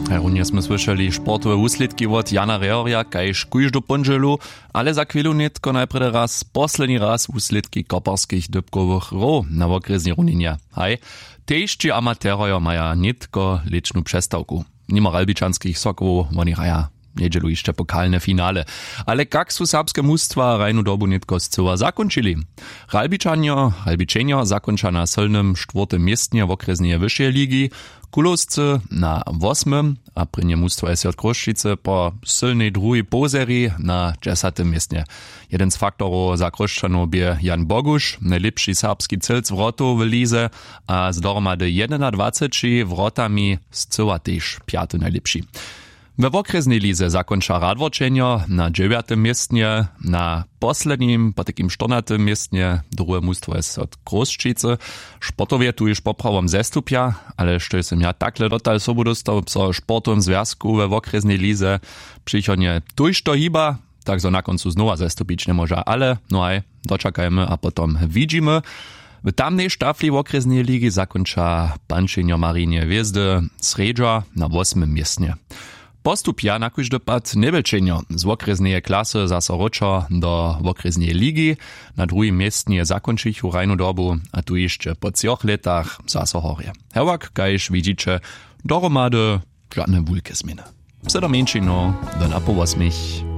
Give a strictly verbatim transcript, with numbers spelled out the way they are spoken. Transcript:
Haj runje smy słyšeli sportowe wuslědki wot Jana Rehorja kaž kóždu póndźelu, ale za chwělu nětko najprjedy raz posledni raz wuslědki koperskich dypkowych hrow na wokrjesnej runinje. Haj, tež ći amaterojo maja nětko lěćnu přestawku. Nimo ralbičanskich sokołow woni hraja njedźelu hišće pokalne finale. Ale kak su serbske mustwa hrajnu dobu nětko scyła zakónčili? Ralbičanjo ralbičenjo zakónča na sylnym štwórtym městnje wokrjesneje wyšeje ligi, kulowscy na wosmym a prěnje mustwo je sej wot chrósćicy po sylnej druhej połzeri na dźesatym městnje. Jeden z faktorow za chrósćanow bě jan boguš, nejlěpši serbski cylc wrotow w lize, a z dohromady jedenadwaceći wrotami scyła tež pjaty najlěpši. We wokrjesnej lize zakónča radworčenjo na dźewjatym městnje. Na poslednim potajkim štyrnatym městnje druhe mustwo je sej wot chrósćicy. Sportowje tuž poprawom zestupja, ale štož sym ja takle dotal sobu dóstał, so w sportowym zwjazku we wokrjesnej lize přichodnje tójšto hiba, tak zo na kóncu znowa zestupić njemóža, ale no haj, dočakajmy a potom widźimy. W tamnej štafli wokrjesneje ligi zakónča pančenjo marinje hwězdy srjedźa na wosmym městnje. Postupja na kóždy pad njewjelčenjo z wokrjesneje klasy zaso wróćo do wokrjesneje ligi. Na druhim městnje zakónčichu hrajnu dobu a tu hišće po třoch lětach zaso horje. Hewak kaž widźiće, dohromady žadne wulke změny. Wsy do mjeńšinow do napołosmich.